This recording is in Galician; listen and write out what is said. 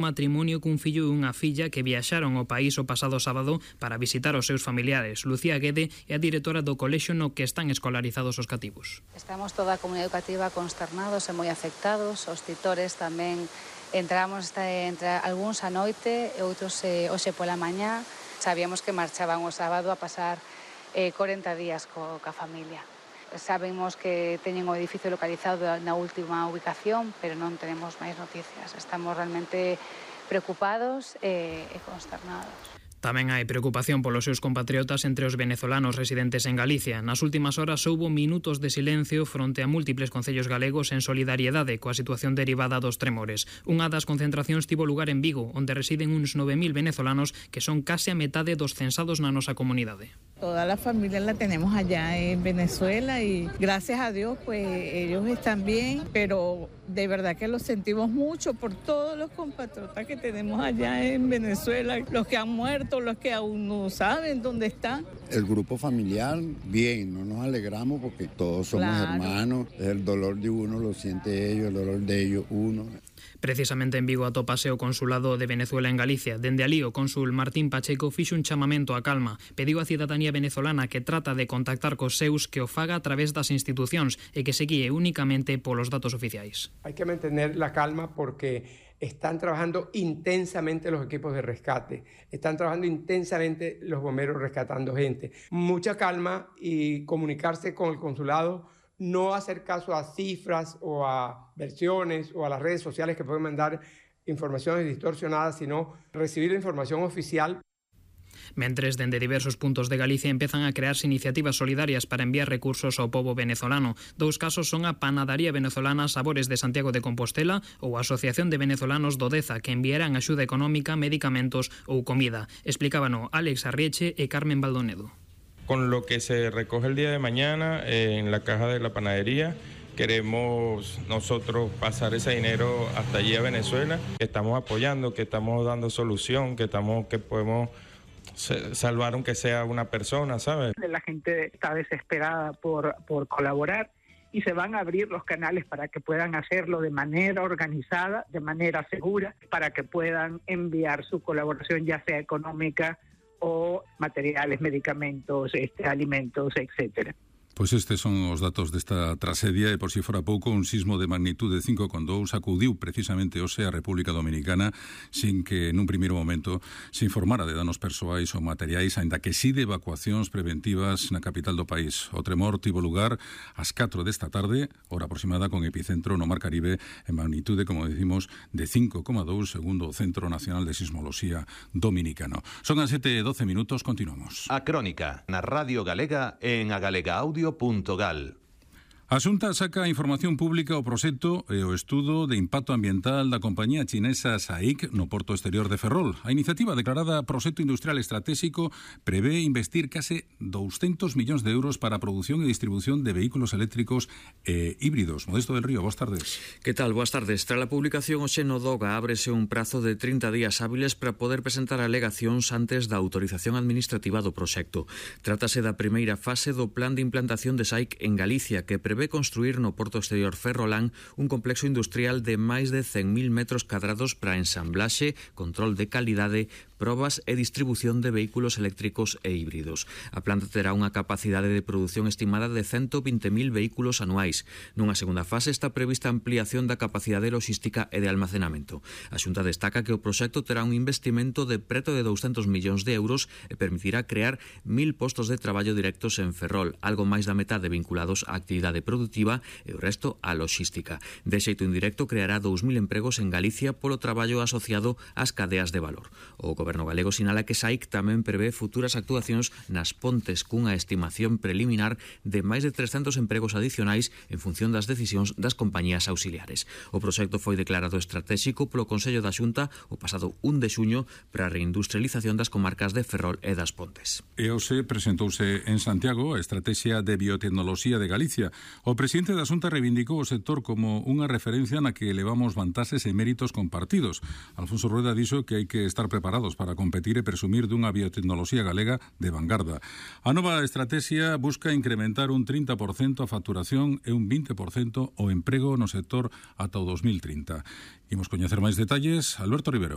Matrimonio cun fillo e unha filla que viaxaron ao país o pasado sábado para visitar os seus familiares. Lucía Guede é a directora do colexio no que están escolarizados os cativos. Estamos toda a comunidade educativa consternados e moi afectados. Os titores tamén entramos entre algúns a noite e outros hoxe pola mañá. Sabíamos que marchaban o sábado a pasar 40 días coa familia. Sabemos que teñen o edificio localizado na última ubicación, pero non tenemos máis noticias. Estamos realmente preocupados e consternados. Tamén hai preocupación polos seus compatriotas entre os venezolanos residentes en Galicia. Nas últimas horas houbo minutos de silencio fronte a múltiples concellos galegos en solidariedade coa situación derivada dos tremores. Unha das concentracións tivo lugar en Vigo, onde residen uns 9.000 venezolanos que son case a metade dos censados na nosa comunidade. Toda la familia la tenemos allá en Venezuela y gracias a Dios pues ellos están bien, pero de verdad que los sentimos mucho por todos los compatriotas que tenemos allá en Venezuela, los que han muerto, los que aún no saben dónde están. El grupo familiar, bien, no nos alegramos porque todos somos hermanos, el dolor de uno lo siente ellos, el dolor de ellos uno. Precisamente en Vigo atópase o Consulado de Venezuela en Galicia. Dende alí o cónsul Martín Pacheco fixo un chamamento á calma. Pediu á cidadanía venezolana que trata de contactar cos seus que o faga a través das institucións e que se guíe únicamente polos datos oficiais. Hay que mantener la calma porque están trabajando intensamente los equipos de rescate, están trabajando intensamente los bomberos rescatando gente. Mucha calma y comunicarse con el consulado, no hacer caso a cifras o a versiones o a las redes sociales que pueden mandar informaciones distorsionadas, sino recibir la información oficial. Mentres, dende diversos puntos de Galicia empezan a crearse iniciativas solidarias para enviar recursos ao pobo venezolano. Dous casos son a Panadería Venezolana Sabores de Santiago de Compostela ou a Asociación de Venezolanos do Deza, que enviarán axuda económica, medicamentos ou comida. Explícabano Alex Arrieche e Carmen Baldonedo. Con lo que se recoge el día de mañana en la caja de la panadería, queremos nosotros pasar ese dinero hasta allí a Venezuela, que estamos apoyando, que estamos dando solución, que podemos salvar aunque sea una persona, ¿sabes? La gente está desesperada por colaborar y se van a abrir los canales para que puedan hacerlo de manera organizada, de manera segura, para que puedan enviar su colaboración, ya sea económica o materiales, medicamentos, alimentos, etcétera. Pois estes son os datos desta tragedia e por si fora pouco un sismo de magnitude 5,2 sacudiu precisamente hoxe a República Dominicana sin que nun primeiro momento se informara de danos persoais ou materiais, aínda que si de evacuacións preventivas na capital do país. O tremor tivo lugar ás 4 desta tarde, hora aproximada con epicentro no Mar Caribe en magnitude, como decimos, de 5,2 segundo o Centro Nacional de Sismoloxía Dominicano. Son as 7:12 minutos, continuamos. A Crónica, na Radio Galega en agalegaaudio.gal. A Xunta saca a información pública o proxecto e o estudo de impacto ambiental da compañía chinesa SAIC no porto exterior de Ferrol. A iniciativa declarada Proxecto Industrial Estratégico prevé investir case 200 millóns de euros para a produción e distribución de vehículos eléctricos e híbridos. Modesto del Río, boas tardes. Que tal? Boas tardes. Tras a publicación hoxe no DOGA ábrese un prazo de 30 días hábiles para poder presentar alegacións antes da autorización administrativa do proxecto. Trátase da primeira fase do plan de implantación de SAIC en Galicia, que prevé construir no porto exterior ferrolán un complexo industrial de máis de 100.000 metros cadrados para ensamblaxe, control de calidade, probas e distribución de vehículos eléctricos e híbridos. A planta terá unha capacidade de produción estimada de 120.000 vehículos anuais. Nunha segunda fase está prevista a ampliación da capacidade logística e de almacenamento. A Xunta destaca que o proxecto terá un investimento de preto de 200 millóns de euros e permitirá crear 1.000 postos de traballo directos en Ferrol, algo máis da metade vinculados á actividade productiva e o resto á logística. De xeito indirecto creará 2.000 empregos en Galicia polo traballo asociado ás cadeas de valor. O Goberno galego sinala que SAIC tamén prevé futuras actuacións nas pontes cunha estimación preliminar de máis de 300 empregos adicionais en función das decisións das compañías auxiliares. O proxecto foi declarado estratégico polo Consello da Xunta o pasado 1 de xuño para a reindustrialización das comarcas de Ferrol e das Pontes. E hoxe presentouse en Santiago a Estrategia de Biotecnoloxía de Galicia. O presidente da Xunta reivindicou o sector como unha referencia na que elevamos vantaxes e méritos compartidos. Alfonso Rueda dixo que hai que estar preparados para competir e presumir dunha biotecnoloxía galega de vanguarda. A nova estrategia busca incrementar un 30% a facturación e un 20% o emprego no sector ata o 2030. Imos coñecer máis detalles. Alberto Rivero.